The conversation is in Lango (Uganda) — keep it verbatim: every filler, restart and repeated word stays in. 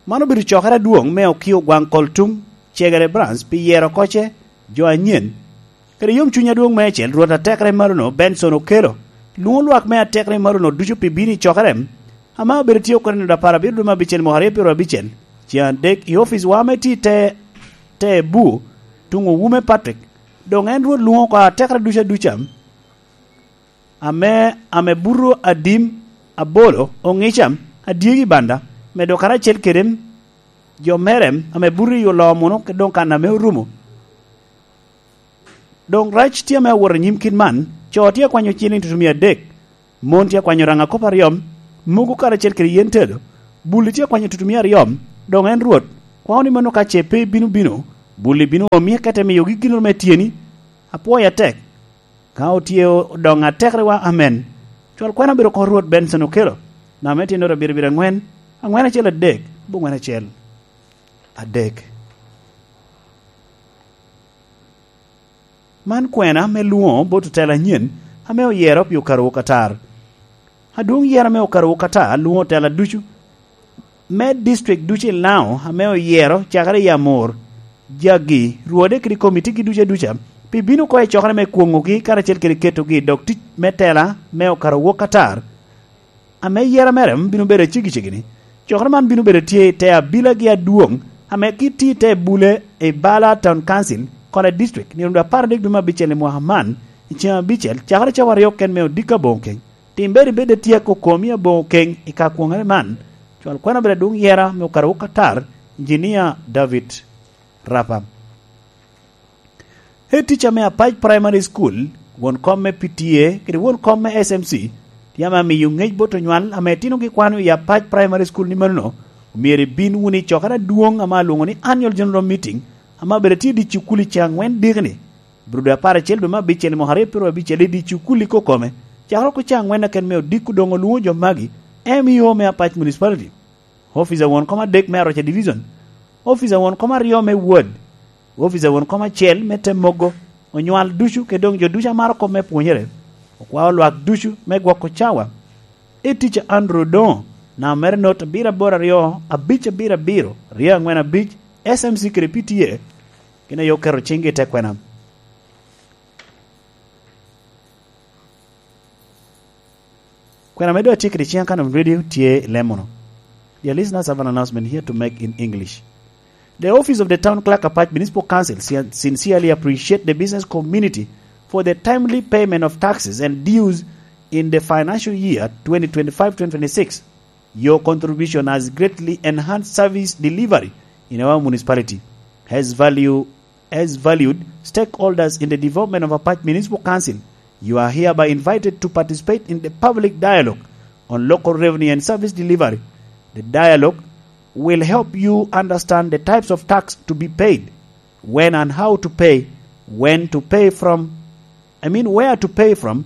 Man obedo cokere adwoŋ me Okio Gwaŋ Koltum Cegere Branch pi yero oko ce jo anyen. Kede yomcuny adwoŋ meicel, Rwot atekere malono Benson Okello lwoŋo lwak me atekere malono ducu pi bino i cokere ame obedo tye oko i nino apar abiro dwe me abicel mwaka aryo pyero abicel, ceŋ adek i ofic wa ame tye i te, te bu, tuŋ Owume Patrick. Doŋ en Rwot lwoŋo oko atekere ducu aduca, ame, ame buto adim, abolo, oŋica, adyegi banda, medo karacel kede jo mere ame buto i olomo muno, kede doŋ kan ame orumo. Doŋ rac tye ame awot anyim kit man, co tye akwanyo ciliŋ tutumia adek, mon tye akwanyo raŋa kop aryo, mogo karacel kede yen tedo, bulli tye akwanyo tutumia aryo, doŋ en Rwot, kwao ni mano ka ce pe ibino bino, bulli bino omi akete miyogi ginnoro me tyeni. Apwoyo atek. Ka otye odoŋ atekere wa, amen. Cwal kwena obedo oko Rwot Benson Okello, namba me tyennoro abiro abiro aŋwen, aŋwen acel adek, aboŋwen acel adek. Man kwena me lwoŋo bot otela anyen ame oyero pi okarowu katar. Adwoŋ yero me okarowu katar lwoŋo otela ducu me district ducu i Lango ame oyero cakere i Amur, jagi, rwode kede komitigi ducu aduca, pi bino oko i cokere me kwoŋogi karacel kede ketogi i dog tic me tela me okarowu katar. Ame yera mere bino bedo aceggi ceggi-ni, cokere man bino bedo tye i te abilagi adwoŋ, ame kit tye i te bule i Bala Town Council, Kole District, nino apar adek dwe me abicel i mwaka man, i ceŋ abicel, cakere cawa aryo ken me odiko aboŋo keny. Tim bed ibed atyeko komi aboŋo keny i ka kwoŋere man. Cwal kwena obedo adwoŋ yera me okarowu katar, Engineer David Rapa. Head teacher me Apac Primary School, won kom me P T A, kede won kom me S M C, tye ame amiyo ŋec bot onywal ame itinogi kwano i Apac Primary School ni manono, omyero ibin wunu i cokere adwoŋ ame alwoŋo ni Annual General Meeting, ame abedo tye i dye cukul i ceŋ aŋwen dikini, bro dwe apar acel dwe me abicel i mwaka aryo pyero abicel i dye cukul i kokome, cakere oko ceŋ aŋwen aken me odiko doŋ olwoŋo jo magi, M E O me Apac Municipality. Officer won kom adek me Aroca Division, officer won kom aryo me Ward, officer won kom acel me te mogo, onywal ducu, kede doŋ jo ducu a maro kop me pwonyere, okwao lwak ducu me gwoko cawa. Head teacher Andrew Odoŋo, namba mere not abiro aboro aryo, abic abiro abiro, ryo aŋwen abic, S M C kede P T A, gin aye oketo ciŋgi i te kwena. Kwena me doŋ atye kede ciŋ akan of radio tye i lemono. Dear listeners, I have an announcement here to make in English. The office of the town clerk, Apac Municipal Council, sin-, sincerely appreciate the business community for the timely payment of taxes and dues in the financial year twenty twenty-five twenty twenty-six. Your contribution has greatly enhanced service delivery in our municipality. As value, as valued stakeholders in the development of Apac Municipal Council, you are hereby invited to participate in the public dialogue on local revenue and service delivery. The dialogue will help you understand the types of tax to be paid, when and how to pay, when to pay from, I mean, where to pay from,